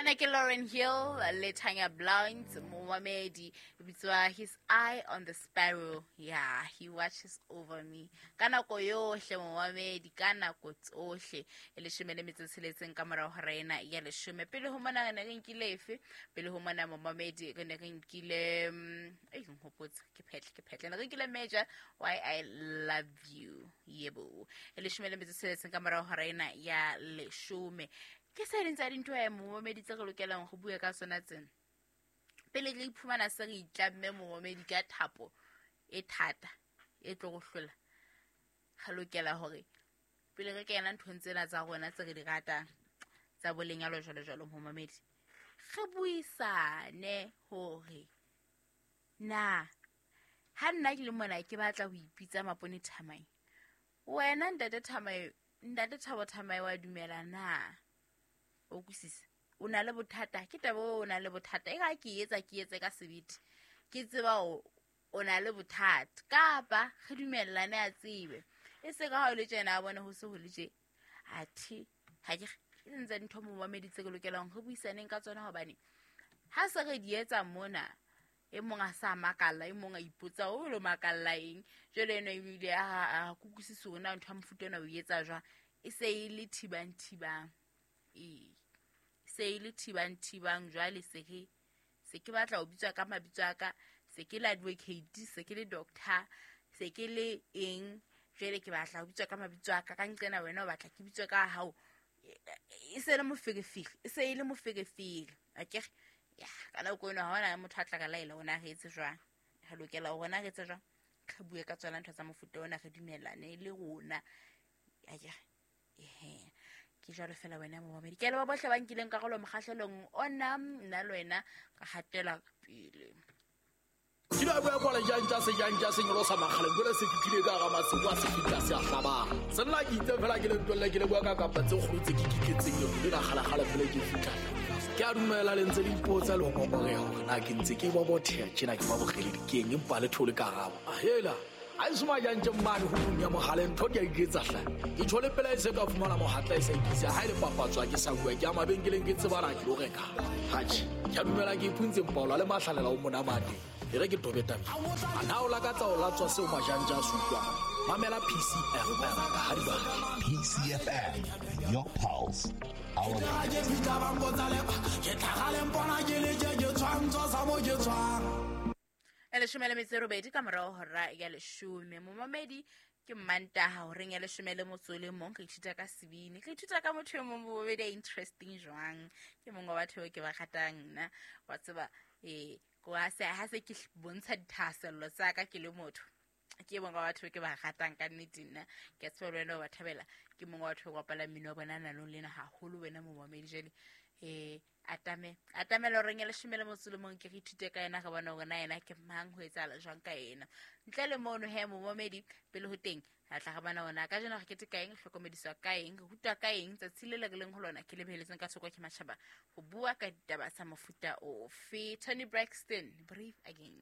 Ena ke Lauren Hill le Tanya Blount, momamedi, e bitswa His Eye on the Sparrow. Yeah, he watches over me. Ka nako yohle momamedi, ka nako tsohle. E leshome le metso e tsheletseng ka morao hora ena ya leshome. Pele ho mona re ne re nkile efe? Pele ho mona momamedi re ne re nkile ei nhopotse, ke phetle, ke phetle. Ne re nkile Major, Why I Love You. Yebo. E leshome le metso e tsheletseng ka morao hora ena ya leshome. Ke se ding tsa dintho e momamedi tse re lokelang go bua ka tsona tsena. Pele re iphumana se re itlamme momamedi ka thapo e thata e tlo go hlola, re lokela hore pele re kena nthong tsena tsa rona tse re di ratang tsa bo lenyalo jwalo jwalo, momamedi, re buisane hore na ha nna ke le mona ke batla ho ipitsa Mapone Thamai, wena ntate Thamai, ntate Thabo Thamai wa dumela na? O kwisisa? O na le bothata, ke taba o na le bothata. E ga ke etsa, ke etse ka sebete, ke tseba o na le bothata, kapa re dumellane a tsebe. E se ka ha o le tjena a bone ho se ho le tje. Athe ha ke e ntse ntho momamedi tse ke lokelang re buisaneng ka tsona, hobane ha se re di etsa mona e mong a sa makalla, e mong a ipotsa o lo makalla eng. Jwale eno ebile a kukusise hore na ntho ya mofuta ona o etsa jwang. E se e le thibang thibang, ee, se e le thibang thibang. Jwale se ke batla ho bitswa ka mabitso a ka, se ke le advocate, se ke le doctor, se ke le eng. Jwale ke batla ho bitswa ka mabitso a ka, ka nqena wena o batla ke bitswe ka hao. E se le moferefere, e se e le moferefere. Akere ya ka nako eno ha hona motho a tla ka laela hore na re etse jwang. Re lokela hore na re etse jwang, re bue ka tsona ntho tsa mofuta ona, re dumellane le rona. Akere ehe, ke jwalo fela wena momamedi. Ke a leboha bohle ba nkileng karolo mokgahlelong ona, nna le wena ka hatela pele. Ke la bua kwala jang tsa sejang tsa senyolo sa makgale, jwale se fihlile ka hara masimo a se fihla se a hlabang. Senna ke itse fela ke le ntwelle, ke le bua ka kapa tse kgolo tse ke kitletseng lefu lena kgalekgale pele ke fihla. Ke a dumela le ntse le ipotsa le ho ngongoreha hore na ke ntse ke bobotheha tjena ke ba bokgeledi keng, empa le thole karabo. Ahela, ha e soma jang tje mane ho tlung ya mohale, ntho ke a iketsa hle. Ke tjho le pela e se ka fumana mohatla e sa ikisa, ha e le papatso ha ke sa bua, ke ya mabenkeleng ke tsebana ke lo reka. Atjhe, ke a dumela ke iphuntse mpaola le mahlalela o monamate. E re ke tobe tabeng. A na o lakatsa ho latswa seo majanja a se utlwang? Mamela PCFM ha di batla. PCFM, your pulse, our Ke fihla ba mpotsa lepa, ke tlhaga le mpona ke le tje, ke tshwantsho sa mo ke tshwang. E leshome le metso e robedi ka morao hora ya leshome. Momamedi, ke Mmantaha horeng ya leshome le motso o le mong, re ithuta ka sebini, re ithuta ka motho e mong momamedi a interesting jwang. Ke mongwe wa batho bao ke ba ratang nna, wa tseba, ko ha se, ha se ke bontsha dithahasello tsa ka ke le motho, ke mongwe wa batho ke ba ratang ka nnete nna. Ke a tseba le wena o ba thabela. Ke mongwe wa batho ba bapalang mmino wa bona nanong lena haholo wena momamedi. Jwale, atame, atamela horeng ya leshome le motso le mong, ke re ithute ka yena, re bone hore na yena ke mang, ho etsahala jwang ka yena. Ntle le mono he momamedi, pele ho teng re tla re bona hore na kajeno re keteka eng, re hlokomediswa ka eng, re rutwa ka eng tsatsi le le re leng ho lona. Ke le beheletseng ka thoko ke matjhaba ho bua ka ditaba tsa mofuta ofe. Toni Braxton, Breathe Again.